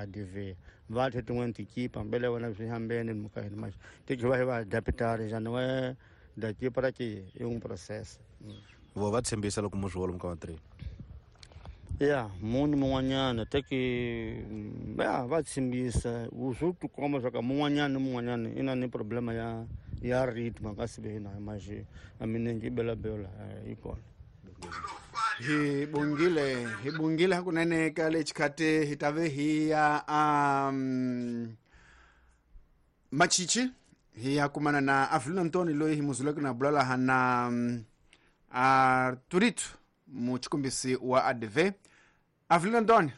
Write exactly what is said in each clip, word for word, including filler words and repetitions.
A D V va the tin'wana tikipa mbele wena swi hambene muka hina mas te que vai vai adaptar já não é daqui para aqui, é um processo. Vo va tshembisa loko mu swi vona muka wa Ya munhu mun'wanyana teki ya va tshembisa swo tikomba swa ka mun'wanyana ni mun'wanyana i na ni problema ya ya ritmo ka sive na mas a minenge yi belabela yi kona. Hi bungile, hi bungile hakunene ka le xikhati hi ta ve hi ya um Machichi, hi ya kumana na Avelino Antoni loyi hi muzuleke na bula laha na um, Arturito, muchikumbisi wa A D V. Avelino Antoni,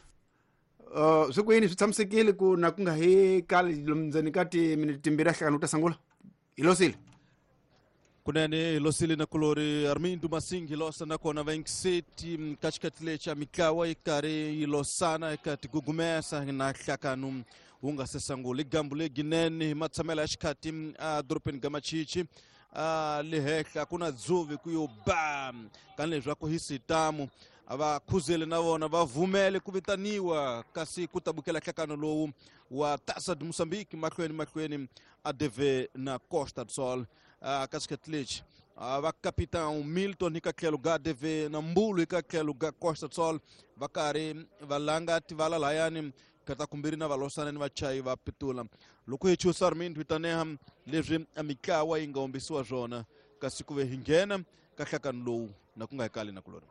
uh, swi kwini? Swi tshamisekile ku na ku nga hi kali ndzeni ka timiniti timbirhi a hlangana u ta sungula hi losile? Kunene hi losile na kulori Armindo Masing, hi losa nakona vaingiseti ka xikhathi lexi a mitlawa yi karhi yi losana eka tigugumesa na nhlakano wu nga se sangula i gambu leginene hi matshamelo ya xikhathi a dorobeni ga Machichi a le henhla ku na dzuvi ku yo ba kani leswaku hi sitamu a va khuzele na vona va vumele ku vitaniwa kasi ku tabukela nhlakano lowu wa Taça de Moçambique mahlweni mahlweni A D V na Costa do Sol. Ka xikhathi lexi va capitão Milton hi ka tlhelo ga A D V na Mbulu hi ka tlhelo ga Costa do Sol va karhi va langa tivala layani kata kumbirhi na valosana ni vachayi va pitula loko hi chusa Armindo hi taneha leswi a mitlawa yi nga hombisiwa swona kasi ku ve hi nghena ka nhlakano lowu na ku nga hi kali na kulori.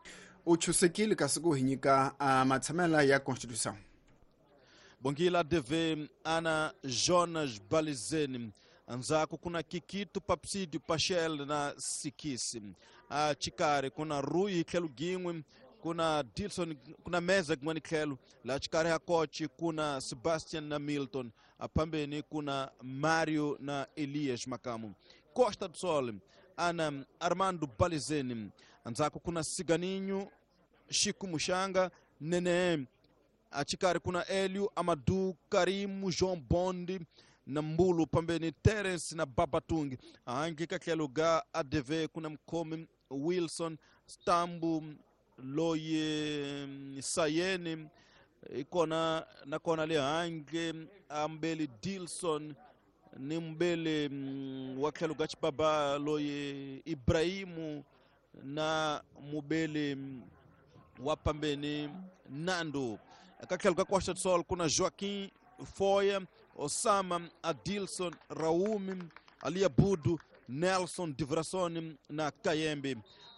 U chusekile kasi ku hi nyika uh, matshamela ya constitution. Bongila, A D V ana Jonas Balizeni, andzhaku kuna Kikito, Papsidio, Pachel na Sikisi. A xikarhi kuna Rui hi tlhelo gin'we, kuna Dilson, kuna Meza kun'wani tlhelo laha xikarhi ha kochi kuna Sebastian na Milton, aphambeni kuna Mario na Elias Makamu. Costa do Sol ana Armando Balizeni, andzhaku kuna Siganinho, Chico Muxanga, Nene, axikarhi kuna Elio, Amadu, Karimu, João Bondi na Mbulu, pambeni Terence na Babatungi. Ahangi ka tlhelo ga A D V kuna Mkhomi, Wilson, Stambu, loyi Sayeni ikona nakona le handle ambeli Dilson ni mbele mm, wa tlhelo ga xibaba loyi Ibrahimu na mubele mm, wa pambeni Nando. Ka tlhelo ka Costa do Sol kuna Joaquim Foya, Osama, Adilson, Raumi, Aliabudu, Nelson Divrasoni na Kayembe.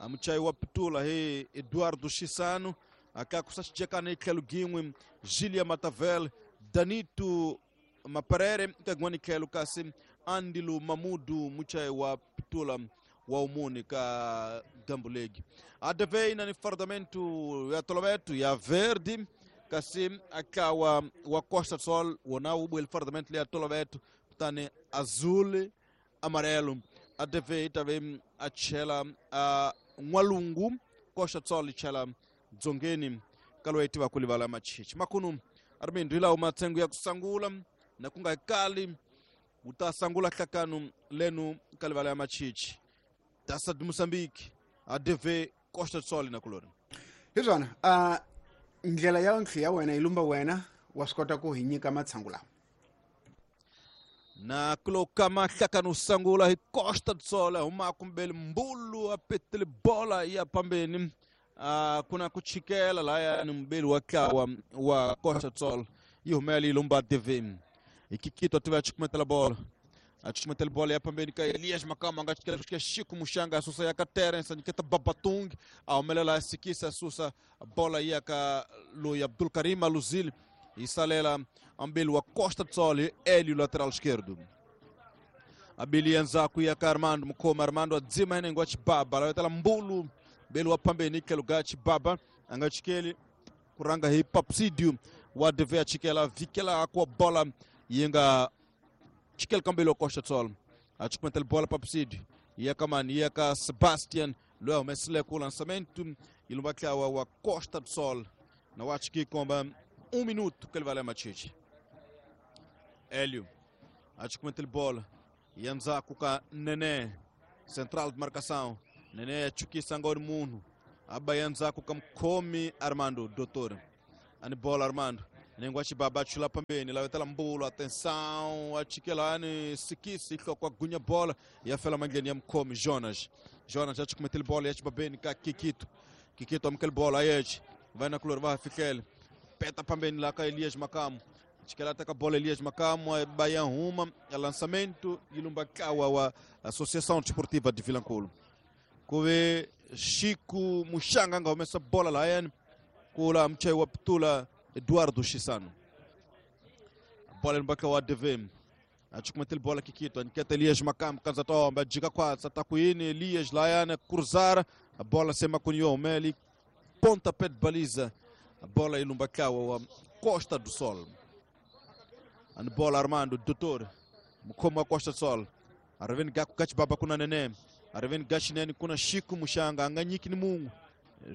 Muchayi wa pitula hi Eduardo Chisano, akakusaxijekana hi tlhelo gin'we Gilia Matavel, Danito Maperere ka gin'wani tlhelo, kasi Andilu Mamudu muchayi wa pitula wa umuni ka gambulegi. A D V ina ni fardamento ya toloveto ya verde, kasi akawa wa Costa do Sol wona wu buwele fardamento ya toloveto kutani azul amarelo. A D V yi ta ve a chela a n'walungu, Costa do Sol yi chela dzongeni ka loyi tiva ku livala Machichi. Makunu Armindo, hi lawo matsengo ya ku sangula na ku nga kali wu ta sangula nhlakano lenu ka livala ya Machichi, Taça de Moçambique, A D V Costa do Sol na kulori. Hi swona, uh, ndlela ya ntlhi ya wena yi lumba wena wa swi kota ku hi nyika matshangu lawa. Na kuloka nhlakano sangula hi Costa do Sol huma kumbele Mbulu a petele bola ya pambeni uh, kuna ku chikela laya ni mbeli wa tlawa wa Costa do Sol yi humela yi lumba A D V ikikito tiva chikumetela bola, achumetela bola ya pambeni ka Elias Makama nga chikela kushika Chico Muxanga, asusa ya ka Terence, anyiketa Babatung, a humelela Sikisa, asusa bola ya ka loyi Abdul Karim Aluzili, yi salela ambeli wa Costa do Sol Elio, lateral esquerdo. Abili ya ndzhaku ya ka Armando Mukhoma, Armando adzima henengo wa Chibaba lawetela Mbulu mbeli wa pambeni tlhelo ga Chibaba a nga chikeli ku rhanga hi Papsidio wa D V a chikela vikela kwa bola yi nga chikela kambeli wa Costa do Sol a chikumetela bola Papsidio ya ka mani ya ka Sebastian loyi a humesile ku lançamento yi lumba tlawa wa Costa do Sol na wa chiki komba um minuto que ele vai lá Machichi. Hélio achikumetela bola ya ndzhaku ka Nene, central de marcação. Nene achukisa ngoni munhu aba ya ndzhaku ka mukhomi Armando Doutor ani bola Armando Nengwa chibaba chula pambeni lavetela mbulo atenção achikelani sikisi kwa gunya bola ya fela mandleni ya mkhomi Jonas. Jonas achikumetele bola ya chibabeni ka Kikito. Kikito amkele bola ayechi vai na kulor vai fikele peta pambeni lá ka Elias Makamu. Chikela ataka bola Elias Makamu baia ruma é lançamento ilumba kawa wa Associação Desportiva de Vilanculo. Kuve Chico Muxanga nga humesa bola la yani kula mchai wa ptula Eduardo Chisano. Bola mbaka wa D V M. Achikumetele bola Kikito, aniketa Elias Makamu kanza tomba jika kwa satakuini Elias Layana cruzar a bola sema kunyo meli pontapé de baliza. A bola ilumba kawa wa Costa do Sol. And bola Armando Doutor mukoma Costa do Sol. Arveni gaku kachibaba kuna nene. Arveni gashineni kuna Chico Muxanga anganyiki ni mungu.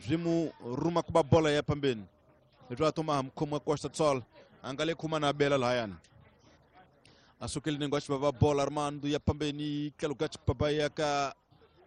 Rimu ruma kuba bola ya pambeni. Toma mkhomo Costa do Sol angale kuma na bela layana asukele nengo baba bola Armando ya pambeni kelugachi baba ya ka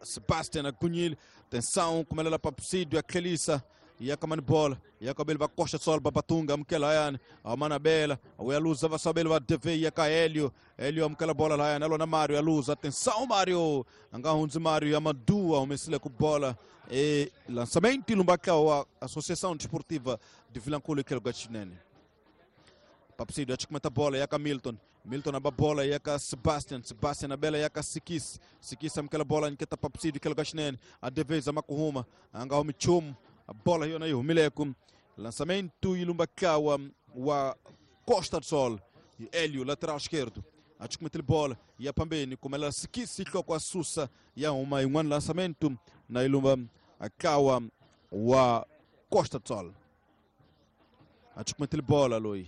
Sebastian Agunyil tensão kumelela papsidio ya Kelisa ya kamani bola ya kabel ba Costa do Sol babatunga mkela layana amana bela uyaluza vasabel va D V ya ka Helio Helio mkela bola layana alona Mario aluza tensão Mario angahunzi Mario ya madua umesile ku bola e lançamento ilumbaka wa Associação Desportiva de Vilanculo e Kelgachinene. Papsidio achikumeta bola yaka Milton. Milton aba bola yaka Sebastian. Sebastian abela yaka Sikis. Sikis amkela bola nketa Papsidio Kelgachinene. A deveza makuhuma anga umichum a bola hiyo na hiyo milekum. Lançamento ilumbaka wa, wa Costa do Sol. E Hélio lateral esquerdo. Achikumeta bola ya pambeni kumela Sikis kwa susa ya uma um lançamento na ilumba akawa wa Costa do Sol. Achikumeta bola loi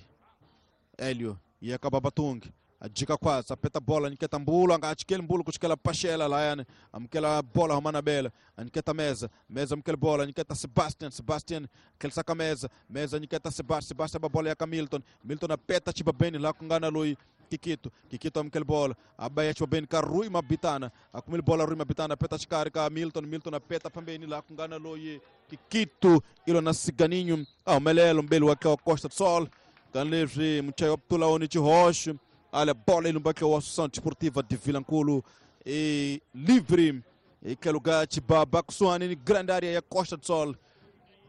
Hélio e acaba batung ajika quase apeta bola niketa mbulo anga achikele mbulo kuchikela pachela la amkela bola romana bela aniketa mesa mesa amkela bola niketa Sebastian Sebastian kel saka mesa mesa niketa Sebastian Sebastian ba bola ya Milton Milton apeta chiba beni la kungana loi Kikito Kikito amkela bola abaya chiba beni ka Rui Mabitana akumil bola Rui Mabitana apeta chikari ka Milton Milton apeta pambeni la kungana loi Kikito ilo na Ciganinho ao melelo mbele wa Costa do Sol kanlevre mchayo optula oni chihosh ala bola ilumbaka wa Associação Desportiva de Vilanculo e livre e que lugar chibaba kusuani ni grande área ya Costa do Sol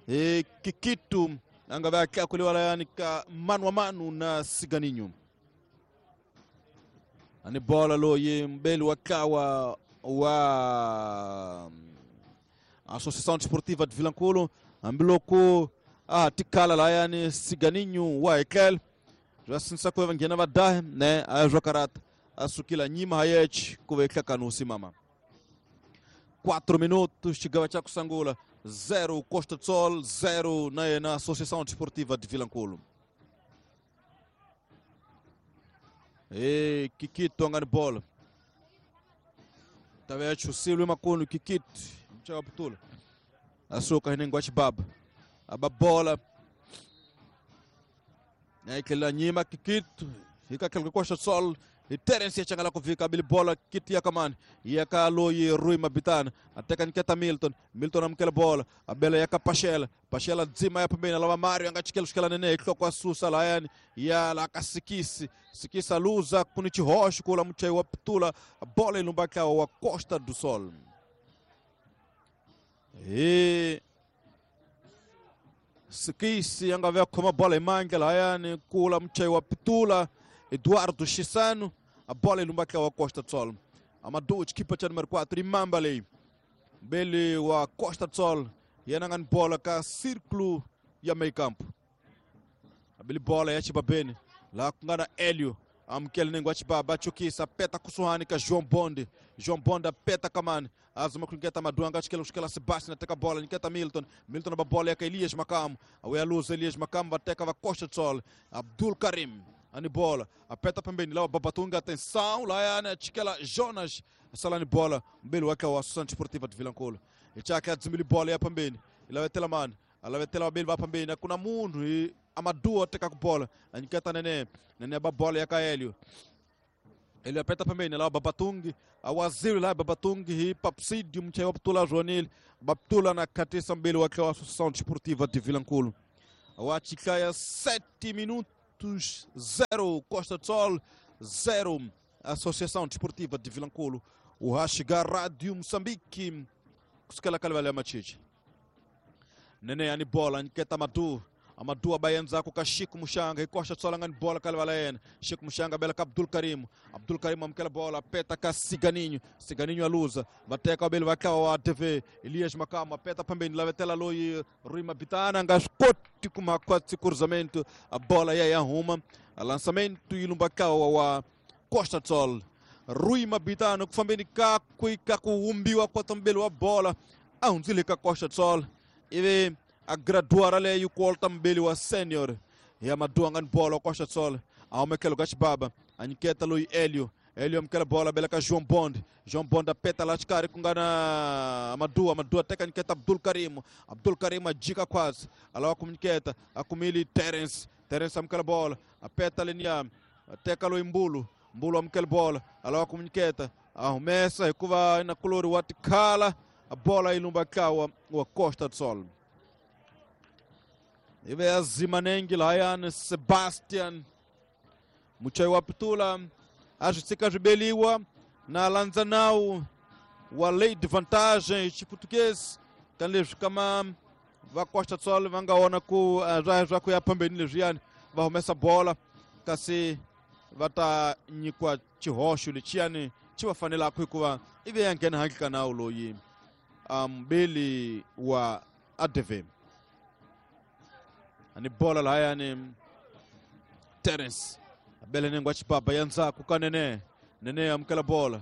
e Kikito anga vai kuliwa yani ka mano a mano na Ciganinho ani bola lo ye mbele wakawa wa Associação Desportiva de Vilanculo ambiloko ah tikala la yani Ciganinho wa ekel já sinsa ko vangena vadah né a jokarata asukila nyima hayech kuweka kanusi mama quatro minutos chegava cha kusangula zero Costa do Sol zero na na Associação Desportiva de Vilanculo. E Kikito angani bola tavecho silwe makono Kikito mchaka putula asuka hinengwa chibaba aba bola naikela nyima Kikito ikakelka Costa do Sol e Terence changala kuvika bili bola kiti ya kamani yakaloyi Rui Mabitana ateka niketa Milton Milton amkela bola abela yaka Pachela Pachela dzima ya pembeni alava Mario angachikela shikela nene kwa susa la yani ya la kasikisi sikisa luza kunichi rocho kula mchai wa ptula bola ilumbaka wa Costa do Sol e Sikisi angavea koma bola imangela yani kula mchai wa ptula Eduardo Chisano a bola ilumbaka wa Costa do Sol Amadou equipa cha número quatro Imambale Bele wa Costa do Sol yanangan bola ka círculo ya meio campo abili bola ya Chibabene lá kungana Hélio amkele nengo achibaba chukisa peta kusuhani ka João Bonde João Bonde peta kamani azuma kunketa maduanga achikela kushikela Sebastian ateka bola niketa Milton Milton aba bola ya Elias Makamu awe aluza Elias Makamu bateka va Costa do Sol Abdul Karim ani bola apeta pembeni lá Babatunga atenção lá yana achikela Jonas salani bola mbele wake wa Associação Desportiva de Vilanculo ichaka adzimili bola ya pembeni ilavetela mani alavetela wabili va pembeni akuna munhu hi Amadou ateka ku bola aniketa nene nene ba bola ya Kaelio ele apeta pembeni lá Babatungi awaziri lá Babatungi hi Papsidio mchewa ptula Jonil baptula na katisa mbele wake wa Associação Desportiva de Vilanculo Wa Chiclaia sete minutos zero Costa do Sol zero Associação Desportiva de Vilanculo. O Rashiga Rádio Moçambique kusukela kalivala ya Machichi. Nene ani bola nketa Madu. Amadu abayenza ku Kashiku Mushanga ikosha tsola ngani bola kalivala yena. Chico Mushanga bela ka Abdul Karim. Abdul Karim amkela bola peta ka Ciganinho. Ciganinho aluza. Bateka abele vakawa wa A T V. Elias Makama peta pambeni lavetela loyi Rui Mabitana ngaskoti kuma kwatsi cruzamento. A bola ya ya ruma. A lançamento ilumbakawa wa Costa do Sol. Rui Mabitano kufambeni kakui kakuumbiwa kwa tambelo wa bola. Aunzile ka Costa do Sol. Ive a graduar ali o Colta Mbele wa sênior. E a Maduangan bola Costa do Sol. A Omekelo Gachibaba. A Niqueta Lui Hélio. Hélio amkela bola bela ka João Bond. João Bond apeta lá de cara com gana Amadou. Amadou até que Niqueta Abdul Karim. Abdul Karim a dica quase. Alô com Niqueta. A Kumili Terence. Terence amkela bola. Apeta Lenia. Até Lui Mbulo. Mbulo amkela bola. Alô com Niqueta. Arremessa. Recuva na color o Atikala. A bola ilumbakawa o Costa do Sol. Ive Zimanengi Layan Sebastian Muchai wa Pitula ajusika jubeliwa na lanzanau wa lei de vantagem este português kanlejo kama va Costa do Sol vangaona ku já já ku ya pambeni lejiani va humesa bola kasi vata nyikwa chihoxo lechiani chi va fanelaka hikuva ive ya nghena handle ka nawu loyi ambeli wa A D V. Ani bola la yani Terence abele nengwa chipapa yanza kukanene nene amkela bola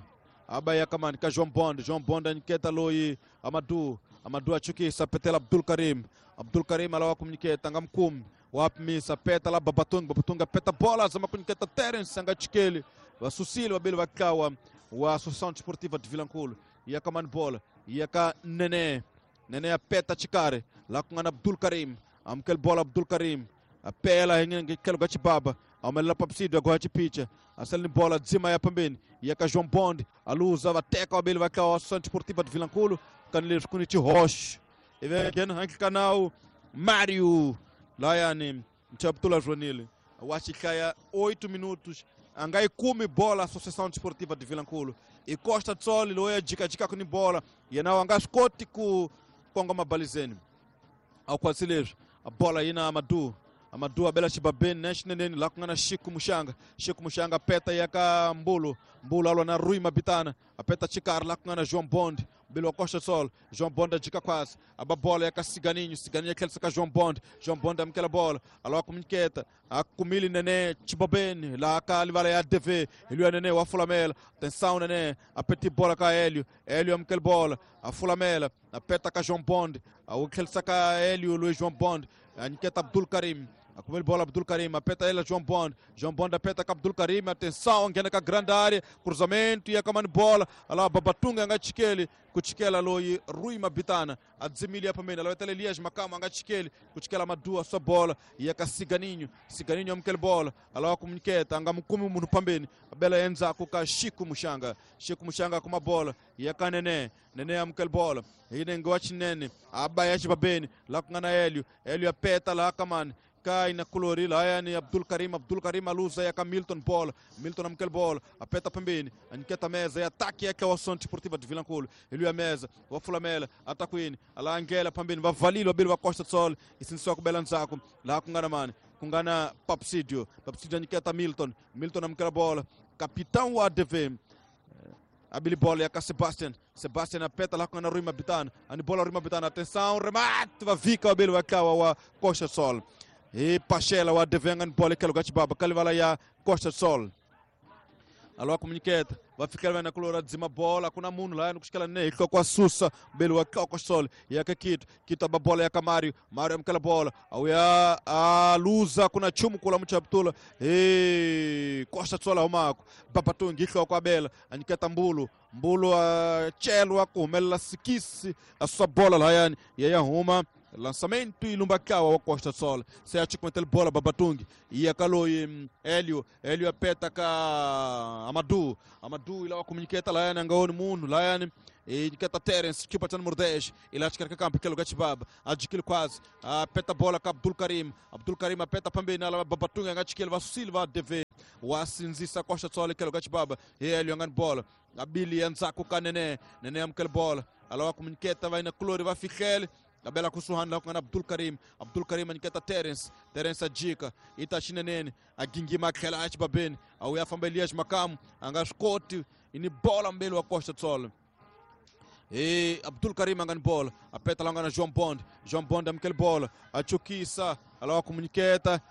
abaya kamani ka João Bond. João Bond aniketa loyi Amadou. Amadou achukisa petela Abdul Karim. Abdul Karim alawa kumniketa ngamkumi wapmisa peta la Babatunga. Babatunga peta bola zama kuniketa Terence angachikeli vasusile vabili vakawa wa Associação Desportiva de Vilanculo. Ia kamani bola ia ka nene nene apeta chikare la kungana Abdul Karim. Amkel bola Abdul Karim. Apela ngekelo gachibaba. Amela papsido agora de picha. Aselni bola dzima ya pambeni. Ia ka João Bond. Aluza vateka wabili vakawa Associação Desportiva de Vilanculo. Kanile kuniti Roche. E vem aqui no canal Mário Laiane Mchaptula Joanile. Wachikaya oito minutos. Angai kume bola Associação Desportiva de Vilanculo. E Costa do Sol loia dica dica com bola. E não angascoti ku kongoma balizeni. Ao quasilejo. A bola aí na Amadou. Amadou abela chibabeni neshineneni la kungana Chico Mushanga. Chico Mushanga peta yaka Mbulo. Mbulo alwa na Rui Mabitana. Apeta chikar la kungana João Bond. Bilo Costa do Sol. João Bond adika quase. Aba bola yaka Ciganinho. Ciganinho aquele saca João Bond. João Bond amkela bola. Alwa kumniketa. Akumili nene chibabeni la ka livala ya D V. Ele nene wa fulamela. Atenção nene. Apeti bola ka Hélio. Hélio amkela bola. A fulamela. Apeta ka João Bond. Aquele saca Hélio Luiz João Bond. Aniketa Abdul Karim. Akumele bola Abdul Karim, apeta ela João Bond. João Bond apeta com Abdul Karim, atenção, ngena com a grande área, cruzamento e a kamani bola. Ala Babatunga angachikeli, kuchikela loi Rui Mabitana, adzimilia pamene, ala wetele Elias Makama angachikeli, kuchikela Madua sua bola, e a Ciganinho, Ciganinho amkele bola, ala wakumniketa, angamukumi munu pambeni, abela enza kuka Chico Mushanga, Chico Mushanga kuma bola, e a Kanene, Nene amkele bola, ine ngwachi nene, abaya chibabeni, la kungana Hélio, Hélio apeta la kamani. Cai na colorila yani Abdul Karim. Abdul Karim aluza ya ka Milton bola. Milton amkel bola apeta pembeni aniketa mesa e ataque é que é o Associação Desportiva de Vilanculo. Ele a mesa o fulamela ataquini ala angela pembeni va valilo abelo va Costa do Sol e sinso ku belanzako la kungana mani kungana Papsidio. Papsidio aniketa Milton. Milton amkel bola capitão wa A D V. Abili bola ya ka Sebastian. Sebastian apeta lá com a Rui Mabitana. Ani bola Rui Mabitana, atenção, remate va vika abelo va kawa wa Costa do Sol. E Pachela o adevengan bola que lugar baba kalivala ya Costa do Sol. Alô comuniqueta, vai ficar na colora de cima bola com a muno lá no que ela nem com a sussa, belo a Costa do Sol. E a Kito, Kito a bola ya Camário, Mário amkela bola. Ao ya a luza com a chumu com a mucha ptula. E Costa do Sol ao maco. Babatungi com a bela, aniketa Mbulo, Mbulo a chelo a comela sikisi a sua bola lá yani e aí arruma. Lançamento e Lumbakawa wa Costa Sol. Se acha com a bola Babatung e a Kaloi Hélio, Hélio apeta ka Amadou, Amadou ila comuniqueta lá na ngaon mundo lá e keta Terence que batendo número dez, ele acha que campo que lugar chibab, adquire quase, apeta bola ka Abdul Karim, Abdul Karim apeta pambeni na Babatung ngachikele va Silva D V. Wasinzisa Costa Sol que lugar chibab, e Hélio ngan bola, Abili anzaku ka Nene, Nene amkel bola, ala comuniqueta vai na Clore vai fikel. A bela kusuhan lá com Abdul Karim, Abdul Karim aniketa Terence, Terence ajika, ita chinenene, a gingima aquela ach baben, a uia família makam, angascoti, ini bola mbele wa Costa Sol. E Abdul Karim angan bola, a peta lá na João Bond, João Bond amkel bola, a chukisa, ala comuniqueta,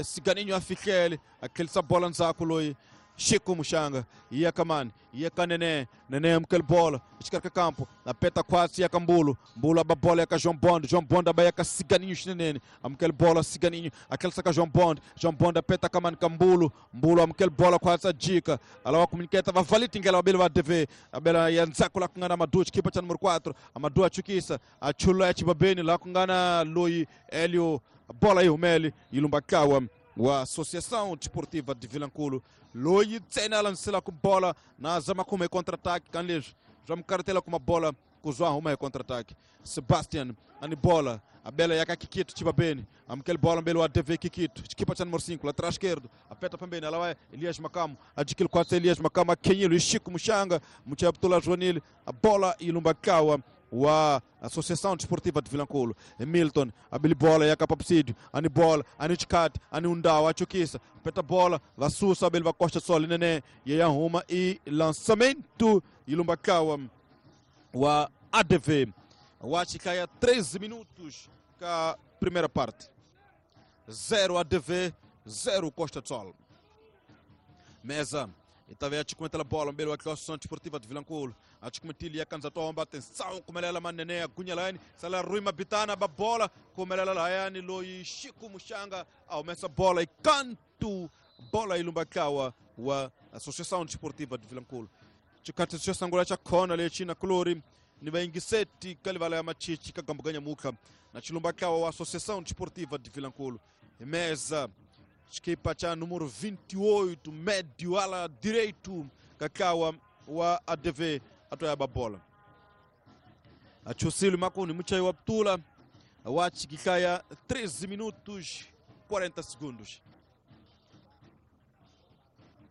ciganinho afikele, aquele sa bola nzakuloi. Chico Muxanga, ia Kamani, ia Kanene, Nene amkel bola, escarca campo, na peta quase ia Cambulo, Mbulo a bola ia João Bond, João Bond a ia Ciganinho Chinene, amkel bola Ciganinho, aquele saca João Bond, João Bond a peta Kamani Cambulo, Mbulo amkel bola quase a dica, ala comuniqueta va valitingela abele va D V, abela ia nzakula kungana Amadou, equipa cha número quatro, Amadou a chukisa, a chula chibabeni lá kungana Loi Hélio, bola aí o Meli, Ilumbakawa. A Associação Desportiva de Vilanculo, Loi Tsena lancela com bola na zama com contra-ataque, Canles, já me cartela com uma bola, com o contra-ataque. Sebastian, ani bola, a bela yaka Kikito, Tibabene, amkel bola, belo A D V Kikito, equipa número cinco, lateral esquerdo, aperta também, ela vai, Elias Macamo, adquire quatro, Elias Macamo, a Kenhilo, Chico Muxanga, Muchabtula Joanil, a bola e Lumbakawa. A Associação Desportiva de Vilanculo, Milton, a bola e a Capapsídio, a bola, a Nitkat, a Nundau, a Chukisa, peta bola, Vassussa, a Belva Costa Sol, Nenê, e a Roma e lançamento e Lumbakawa, o A D V. O Achikaia, treze minutos com a primeira parte. zero A D V, zero Costa Sol. Mesa. E talvez a te a bola, um belo aqui, a Associação Desportiva de Vilanculo. A te comentar, a cansa tomba, atenção, como ela manené, a cunha lá, sala ruima bitana, a bola, como ela lá, loi Chico Muxanga, aumenta a bola e canto, bola e Lumbakawa, a Associação Desportiva de Vilanculo. Te canta a Angola, a Kona, ali, China, Clori, Nivaingiseti, Calivalé, Machichi, Cagambuganha Muca, na Chilumbakawa, a Associação Desportiva de Vilanculo. Mesa. Equipa cha número vinte e oito, médio ala direito, Cacau o A D V, a toia bola. A Chusilo Makuni, Muchayo Abtula, a Wachi Kikaya, treze minutos, quarenta segundos.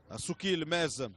A Sukil Mesa.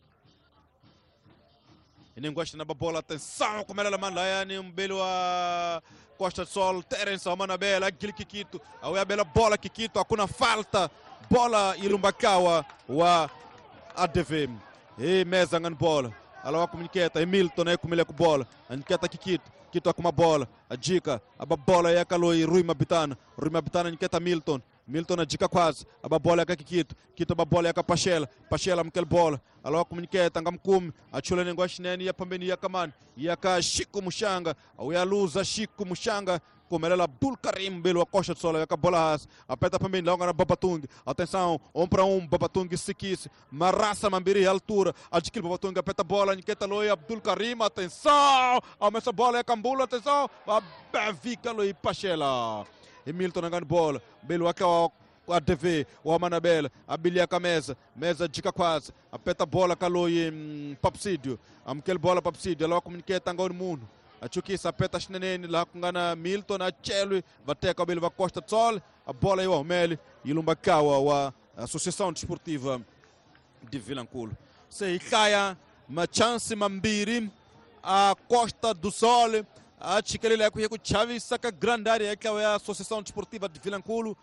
E nem gosta na bola, atenção, como ela manda, um belo a Costa do Sol, Terence, a Manabela, aquele Kikito, a bela bola Kikito, a cuna falta, bola Ilumbakawa, o A D V. E Mesa ngan bola, ela comuniqueta, Hamilton aí com ele com bola, a Kikito, Kito com uma bola, a dica, a bola é a Caloi, Rui Mabitana, Rui Mabitana, Nketa Milton. Milton a dica quase, a bola é a Kikito, Kito a bola é a Pachela, Pachela amkel bola, ela comuniqueta, ngamkumi, a chula nengoashineni, ya pambeni ya kamani, ya ka Chico Muxanga, a ya luza Chico Muxanga, como ela Abdul Karim belo a Costa do Sol, a bola ras, aperta pambeni, lá na Babatung, atenção, um para um, Babatung se quis, Marassa Mambiri, altura, adquire Babatung, aperta a bola, Nketa Loi, Abdul Karim, atenção, aumenta a bola, é Cambula, atenção, a Vica Loi Pachela. Milton angando bola, Belo aqui a D V, o Amanabela, a Biliaca Mesa, Mesa dica quase, aperta a bola, calou e Papsídio, amkel bola Papsídio, ela comuniqueta angando mundo, a Chukisa aperta Chinenene, lá com gana Milton, a Chelo, vai cabelo vai Costa do Sol, a bola aí o Armeli, e Lumbakawa, a Associação Desportiva de Vilanculo. Se caia, uma chance Mambiri, a Costa do Sol. A chikelele ya kuchavisa ka grande área que é a Associação Desportiva de Vilanculo,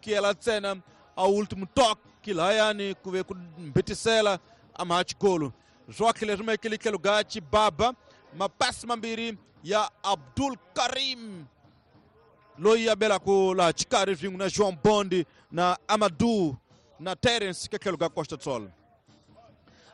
que ela cena ao último toque lá yani kuve kumbetisela amachikolo. Joaquim Lerme aquele que lugar baba, mapasse mambiri ya Abdul Karim. Loia bela ko la chikari vingu na João Bondi na Amadou na Terence que é lugar Costa do Sol.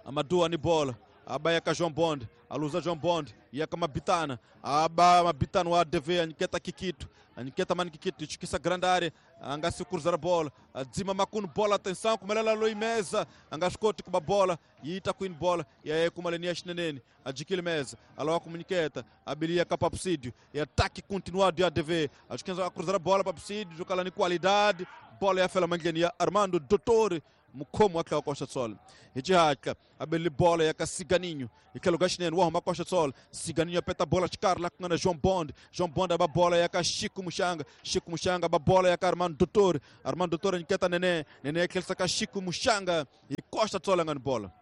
Amadou ani bola. Abaya ka João Bond, a luza João Bond, ia ka Mabitana, aba Mabitana o A D V, Nketa Kikito, Aniketa mani kikiti chukisa grande área, anga se cruzar a bola, adzima makunu bola, atenção, kumelela loi mesa, anga skoti kuba bola, ita queen bola, e aí kumalenia chinenene, adquire mesa, aloa comuniqueta, abilia capapsídio, e ataque continuado de A D V, acho que a cruzar a bola papsídio, jogar lá em qualidade, bola é a fela mangenia, Armando Doutor, mukomo aquela Costa Sol. Rijaka, abeli bola ya Ciganinho. E que lugar chineno, arruma Costa Sol. Ciganinho apeta a bola de Carla com a João Bond. João Bond a bola ya Chico Muxanga. Chico Muxanga a bola ya Armando Doutor. Armando Doutor inquieta Nenê. Nenê aquele saca Chico Muxanga e Costa Sol angando bola.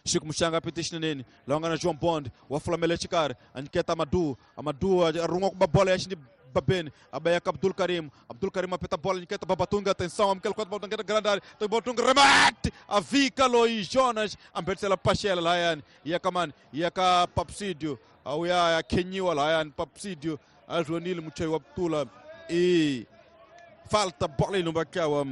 Chico Muxanga apeta chinene, longa na João Bond, o Aflamele Chicar, anqueta Amadu, Amadu arruma com a bola ya Babene, abayaka Abdul Karim, Abdul Karim apeta a bola, inquieta Babatunga, atenção, amkel quatro Babatunga grande área, Babatunga remate, a Vika Loi Jonas, ambetsela Pachela Layan, Yakaman, Yaka Papsídio, auya Kenyiwa Layan, Papsídio, a Joanil Muchei Abdula e falta bola no Bacawa,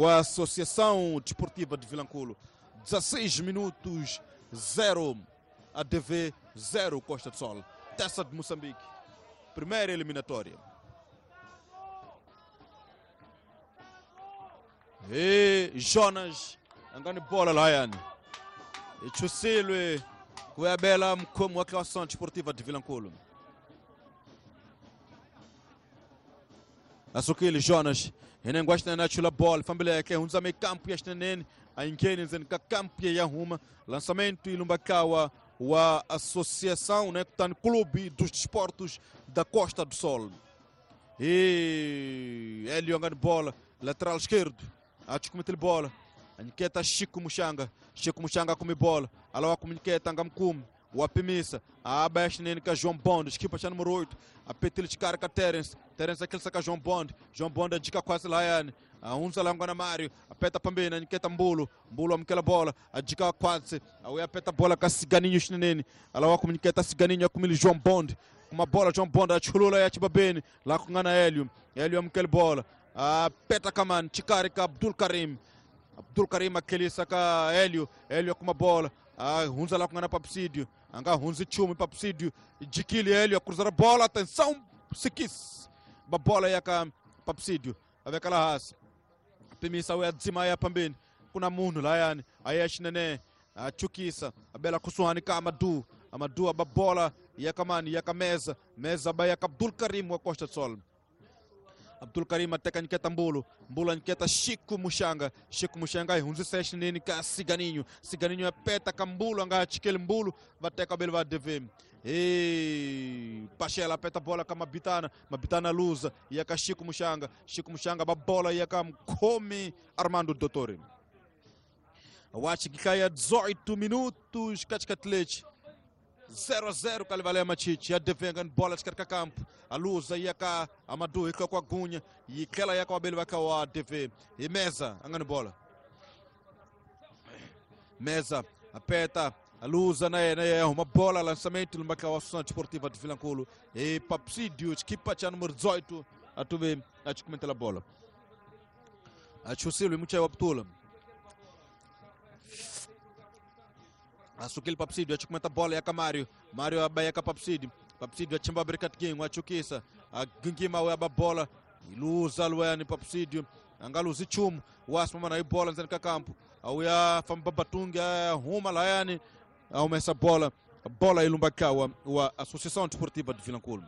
a Associação Desportiva de Vilanculo. dezasseis minutos, zero, A D V zero, Costa do Sol. Taça de Moçambique, primeira eliminatória. E Jonas, angani bola lá, e Chussilwe, Cuiabela, como a Associação Desportiva de Vilanculo. Asukili Jonas, e nem gosta na chula bola, família que é um meio campo e este nem a inquênis em campo e arruma lançamento e Lumbakawa, a Associação, né, que está no Clube dos Desportos da Costa do Sol. E Hélio angani bola, lateral esquerdo, a descometer bola, a inquieta Chico Muxanga, Chico Muxanga come bola, alô a inquieta Angamkum, o Apimissa, a abaixo nele João Bond, equipa já número oito, a Petil de Carca Terence, Terence aquele saca João Bond, João Bond a dica quase Laiane, a Unza Langona Mário, a Peta Pambina, a Niqueta Mbulo, Mbulo amquela bola, a dica quase, a Uia Peta bola com a Ciganinho Chinene, a Laua comuniqueta Ciganinho, a Comil João Bond, uma bola João Bond, a Chulula e a Tibabene, lá com Ana Hélio, Hélio amquela bola, a Peta Kaman, Chicarica, Abdul Karim, Abdul Karim aquele saca Hélio, Hélio com uma bola, a Hunza lá com Ana Papsídio, anga Hunzi Chumi Papsídio, Dikili Hélio a cruzar a bola, atenção, Sikis, a bola aí a Papsídio, a ver aquela raça. Pimisa we adzima ya pambeni kuna munhu layani aya xinene a chukisa a bela kusuhani ka Amadu Amadu a bola ya kamani ya kameza meza ba ya Abdul Karim wa Costa do Sol. Abdul Karim ateka nketa Mbulo Mbulo nketa Chico Muxanga Chico Muxanga hunzisa xinene ka Ciganinho Ciganinho apeta ka Mbulo anga chikele Mbulo bateka bele va D V. E Pachela apeta bola ka Mabitana Mabitana luza ia ka Chico Muxanga Chico Muxanga ba bola ia ka Mkome Armando Dottore. Wachi kikaya dezoito minutos katikati zero a zero Kalivalé Machichi, a D V ganhando bola de carca campo, a luza ia cá, Amadu e com a Gunha, e aquela ia com a Bele vai com a D V, e Mesa, angando bola. Mesa, apeta, a luza na é uma bola, lançamento no Macau, Associação Desportiva de Vilanculo, e Papsídio, equipa tinha número dezoito, a tu vê, a te comentar a bola. A Chusilo e Muchayo Abdula. Asukil Papsídio, a comenta a bola, é a Mário, Mário abaia ka Papsídio, Papsídio a chimba bricat game, a chukisa, a gingima a bola, iluza luani Papsídio, angaluzi chum, o asma na bola nzani ka campo, a uya famba batunga, ruma laiane, a uma essa bola, a bola ilumbakawa, a Associação Desportiva de Vilanculo.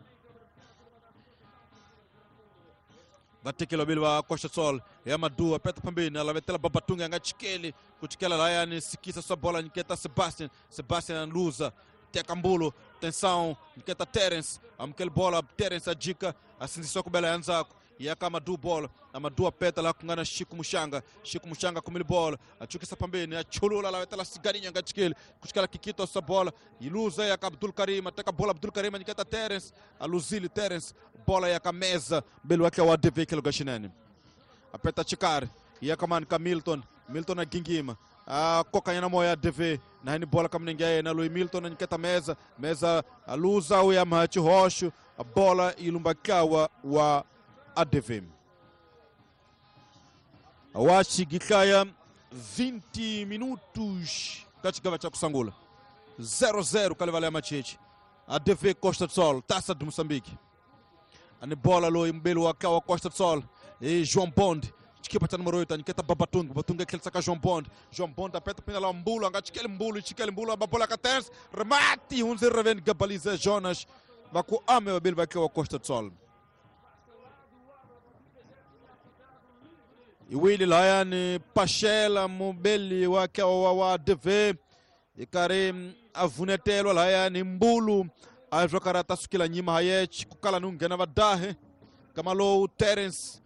Batekelo bilwa Costa Sol, é Amadu, aperta pambina, ela vai ter babatunga, ngachikele, kuchikela laiane, sikisa sua bola, nketa Sebastian, Sebastian luza, Tekambulo, tensão, nketa Terence, amkel bola, Terence a dica, assim só com bela anzako, e a Amadu bola, Amadu aperta lá com gana Chico Muxanga, Chico Muxanga com ele bola, a chukisa pambina, a chulula, ela vai ter cigarinha, ngachikele, kuchikela Kikito essa bola, e luza, e a Abdul Karim, até a bola Abdul Karim, nketa Terence, a Luzile Terence, bola e a mesa, belo aqui é o A D V que é o Gashinene. Aperta Chicar, e a Kaman ka Milton, Milton a Gingima, a Cocanha na moia A D V, na bola kamningué, na Lui Milton, nketa mesa, mesa a Luza, o Yamaha Rocho, a bola e Lumbakawa, o A D V. Awachi Gikaya, vinte minutos, Kachigava Chakusangula, zero a zero, Kalivalé Machichi, A D V Costa do Sol, Taça de Moçambique. Ani bola loyi mbeli wa ka wa Costa do Sol e João Bond xikipa cha número oito aniketa Babatunga Babatunga tlhelisa ka João Bond João Bond apeta pinga la Mbulu anga chikeli Mbulu chikeli Mbulu aba bola ka Terence remate hunze reveni gabaliza Jonas va ku ame vabeli va wa Costa do Sol iwili layani Pachela mubeli wa wa wa D V ikari avunetelwa layani Mbulu azvakarata sukila nyima hayechi kukala nunghena vadahe kama lowu Terence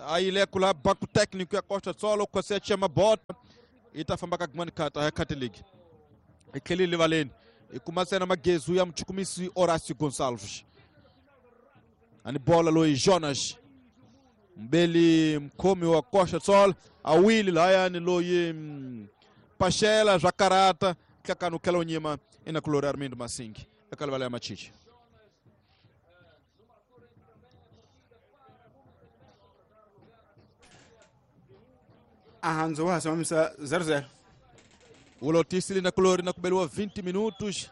ayile kula banco técnico ya Costa do Sol kwese chama bota itafamba ka gmani kata ya Catholic ikelile valeni ikumasena magezu ya mchukumisi Horácio Gonçalves ani bola loyi Jonas mbeli mkhomi wa Costa do Sol awili layani loyi Pachela zvakarata kakanu kela unyima ina kulori Armindo Massingi akalivala ya machichi ahanzo wa samamisa zero zero ulotisili na kulori na kubeliwa vinte minutos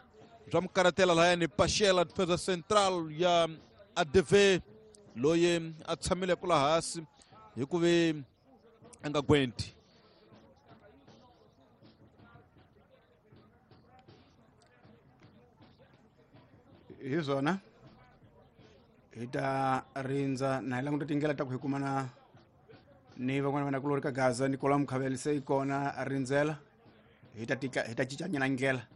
zwa mkaratela layani Pachela defesa central ya A D V loyi a tshamile kula hasi hikuve a nga gwenti hi swona hi ta rindza na hi languta tindlela ta ku hi kumana ni van'wana vana kulori ka Gaza Nicolas Mukhaveli se yi kona a rindzela hi ta tika hi ta cincanyana ndlela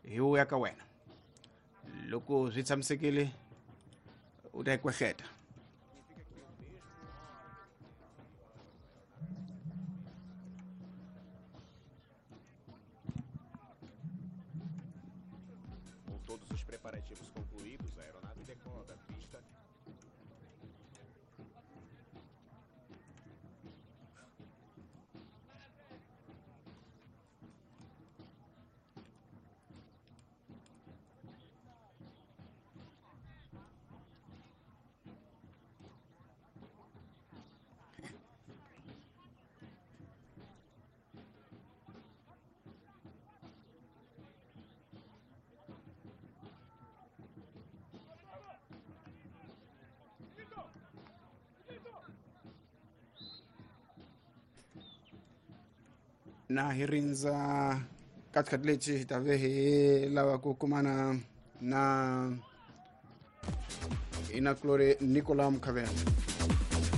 hi wuya ka wena loko swi tshamisekile u ta yi kwehleta. Com todos os preparativos concluídos, a aeronave decola da pista. Na hi rindza ka xikhathi lexi hi ta ve hi lava ku kumana na inakulori Nicolas Mukhavela.